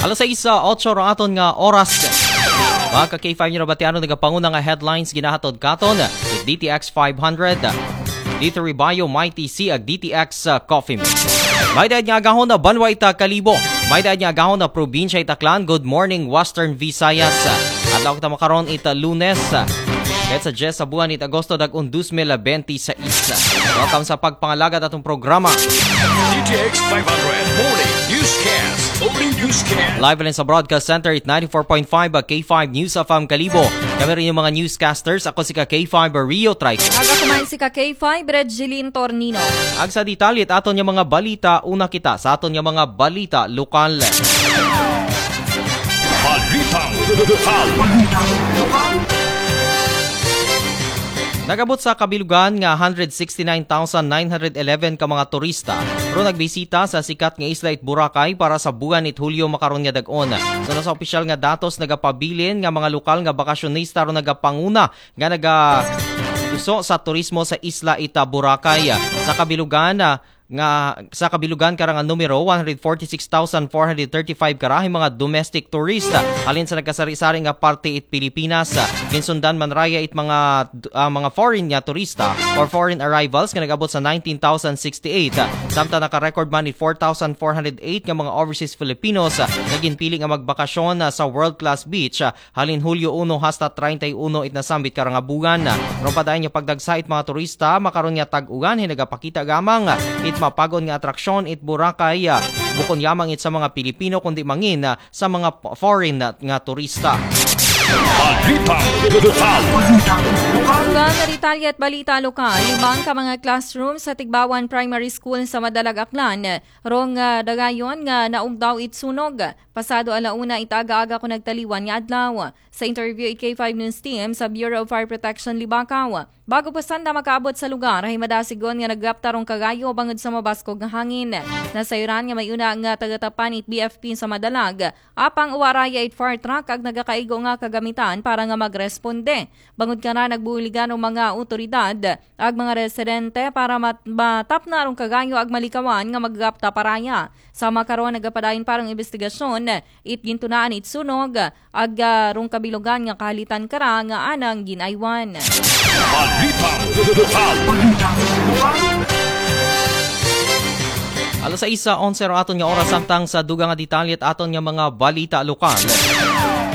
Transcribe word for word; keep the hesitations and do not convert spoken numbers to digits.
Alas sais, ah, otso ra aton nga oras. Mga ka K five, nyo nabatian ang nagapanguna nga headlines ginahatod katon D T X five hundred, D three Bio, Mighty C, ag D T X, ah, Coffee Mix. May daad nga agahon na banwa ita Kalibo. May daad nga agahon na probinsya ita Aklan. Good morning, Western Visayas. Adlaw kita makaron ita Lunes. Kahit sa diyes sa buwan ita Agosto, dag-on dos mil benti sais. Welcome sa pagpangalagad atong programa. D T X five hundred Morning Newscast. Morning Newscast. Live rin sa Broadcast Center at ninety-four point five K five News F M Kalibo. Kami rin yung mga newscasters. Ako si ka K five Rio Trice. Aga kuman si ka K five, Regeline Tornino. Ag sa detalye aton nga mga balita, una kita sa aton nga mga balita lokal. Balitang lokal. Nagabot sa kabilugan nga one hundred sixty-nine thousand nine hundred eleven ka mga turista ro nagbisita sa sikat nga isla it Boracay para sa buwan it Hulyo makaron nga dag-on. So, sa opisyal nga datos, nagapabilin nga mga lokal nga bakasyonista ro nagapanguna nga naga uso sa turismo sa isla ita Boracay. Sa kabilugan, ah, nga sa kabilugan karang numero, one hundred forty-six thousand four hundred thirty-five karahi mga domestic tourist, ah, halin sa nagkasari-sari nga parte it Pilipinas. Ah, ginsundan man raya it mga, ah, mga foreign nga turista or foreign arrivals nga nagabot sa nineteen thousand sixty-eight. Ah, samtang naka-record man it four thousand four hundred eight nga mga overseas Filipinos, ah, nga ginpili nga magbakasyon, ah, sa world-class beach, ah, halin Hulyo uno hasta treinta y uno it nasambit karang buwan. Ron pa dayon nga pagdagsa it mga turista makaron nga tag-uwan, hinagapakita gamang it mapag-on nga atraksyon it Boracay, ah, bukon yamang it sa mga Pilipino kundi mangin, ah, sa mga p-, foreign nga, nga turista. Balitang lokal. Uban na detalye at balita lokal, lima ka mga classroom sa Tigbawan Primary School sa Madalag, Aklan, rong, ah, dagayon nga naugdaw it sunog. Pasado ala una it aga-aga kon nagtaliwan nga adlaw. Sa interview it K five News Team sa Bureau of Fire Protection Libacao, bago pa sanda makaabot sa lugar, hay madasigon nga naggapta rong kagayo bangod sa mabaskog nga hangin. Nasayran nga may una nga taga-tapan it B F P sa Madalag, apang wa raya it fire truck ag nagakaigo nga kagamitan para nga magresponde. Bangod kana, nagbuligan ang mga otoridad ag mga residente para mat-, matapna rong kagayo ag malikawan nga maggapta pa raya. Sa makaron, nagapadayon pa rong imbestigasyon it gintunaan it sunog ag, ah, rong kabilugan nga kahalitan kara nga anang gin-aywan. Balitang lokal. Alas sais onse ro aton nga oras, samtang sa dugang nga detalye it aton nga mga balita lokal.